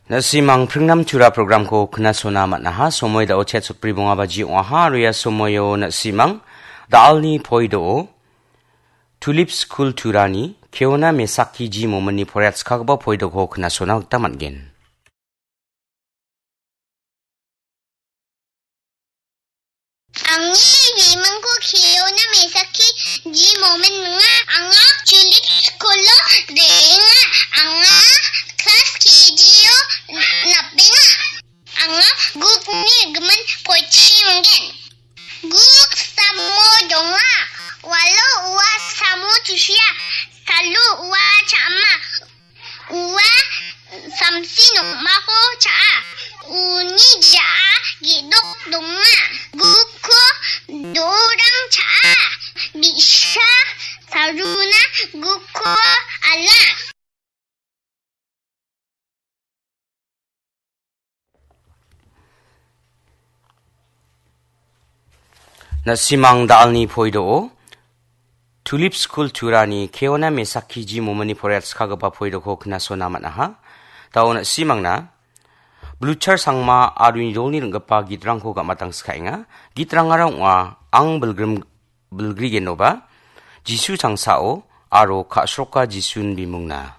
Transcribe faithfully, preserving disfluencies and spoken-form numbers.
Na·simang pringnam tura programko knasona man·aha. Somoi dao chet sotbri bonga baji ong·aha. Aro ia somoio na·simang da·alni poi do·o Tulip Skul Turani Keona Mesaki Ji Mominni poriatskagipa poi doko knasona gita man·gen. Angni bimingko Keona Mesaki Ji Momin ong·a. Anga Tulip Skulo re·enga. Anga klas K G-o napenga. Anga gukni gimin pochi ong·gen. Guk samo donga. Walo ua samo tusia. Salo ua cha·ama. Ua samsi nokmako cha·a. Uni ja·a ge·dok donga. Guko do·orang cha·a. Bi·sa saruna guko ala. Na·simang da·alni poi do·o Tulip Skul Turani Keona Mesaki Ji Mominni poriatskagipa poi doko knasona man·aha. Dao na·simangna Bluchar Sangma aro uni dolni ring·gipa gitrangko gamatangskaenga. Gitrangara ong·a Ang Bilgrim Bilgrigenoba, Jisu Changsao aro Ka·sroka Jisun Bimungna.